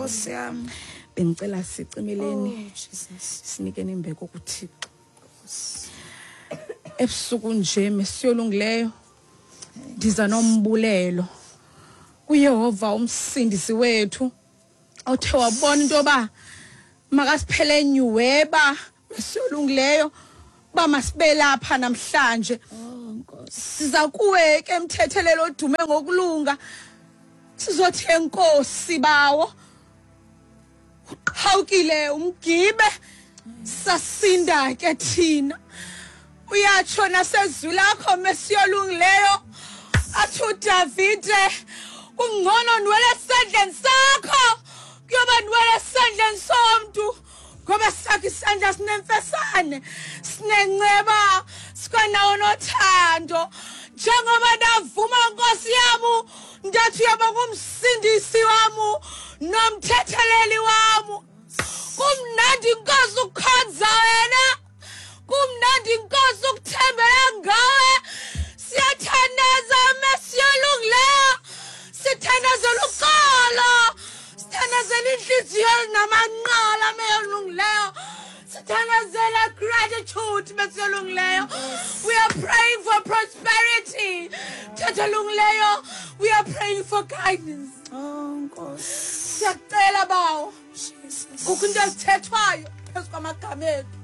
Nkosi yam. Bendicela sicimeleni. Oh Jesus. Sinikeni imbeko kuThixo. Ebusuku nje mesiyolungileyo ndiza nombulelo kuYehova umsindisi wethu othe wabona into yoba makasiphele nyuweba mesiyolungileyo uba masibe lapha namhlanje. Oh Nkosi. Siza kuwe ke mthethelelo odume ngokulunga, sizothi enkosi bawo, uqhawukile umgibe sasinda ke thina. Uyatsho nasezwi lakho mesiyolungileyo, athi uDavide kungcono ndiwele esandleni sakho kuyoba ndiwele esandleni somntu, ngoba sakho isandla sinemfesane, sinenceba, sikwanawo nothando. Njengoba ndavuma Nkosi yam, ndathi uyoba ngumsindisi wam nomthetheleli wam. Kumnandi Nkosi ukukhonza wena, kumnandi Nkosi ukuthembela ngawe. Siyathandaza mesiyolungileyo, sithandazela uxolo, sithandazela inhliziyo namanqala meyolungileyo, sithandazela gratitude mesiyolungileyo. We are praying for prosperity thatholungileyo, we are praying for guidance. Oh Nkosi. Siyacela bawo, Jesus. Kukho into ezithethwayo phezu kwamagama ethu.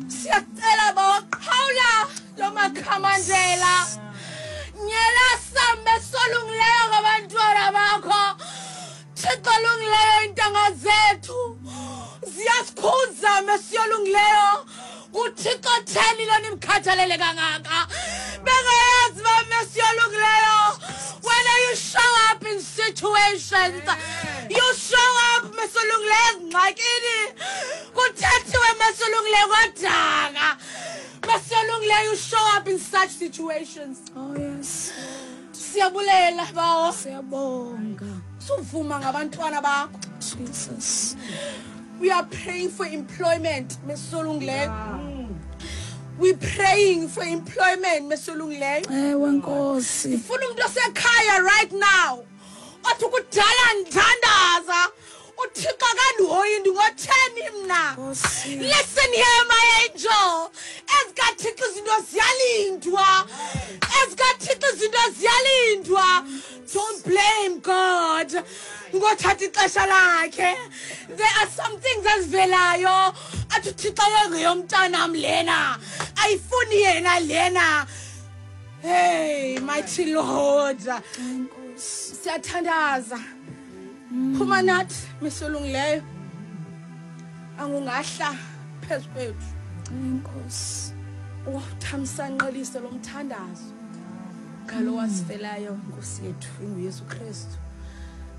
Siyacela bawo, qhawula lo makhamandela, nyela sambe solungileyo ngabantwana bakho. Thixo olungileyo, iintanga zethu ziyasikhuza mesiyolungileyo. NguThixo theni lo nimkhathalele kangaka? Bengayazi uba mesiyolungileyo, when you show up in situations, you show up mesolungileyo ezingxakini. Kuthethiwe mesolungileyo kwadaka, mesolungileyo, you show up in such situations. Oh yes. Siyabulela bawo. Siyabonga. Suvuma ngabantwana bakho. Jesus. We are praying for employment mesolungileyo. We praying for employment mesolungileyo. Ewe Nkosi. Ndifuna umuntu osekhaya right now othi kudala ndithandaza, uThixo akandihoyi, ndingotheni mna? Nkosi. Listen here, my angel, ezikaThixo izinto ziyalindwa, ezikaThixo izinto ziyalindwa. Don't blame God ngothatha ixesha lakhe. There are some things ezivelayo athi uThixo yongeyomntanam lena, ayifuni yena lena. Hey, mighty Lord. Nkosi. Siyathandaza, phuma nathi misolungileyo, angungahla phezu kwethu. Nkosi. Uthamsanqelise lo mthandazo ngalo wasifelayo Nkosi yethu inguYesu Kristu.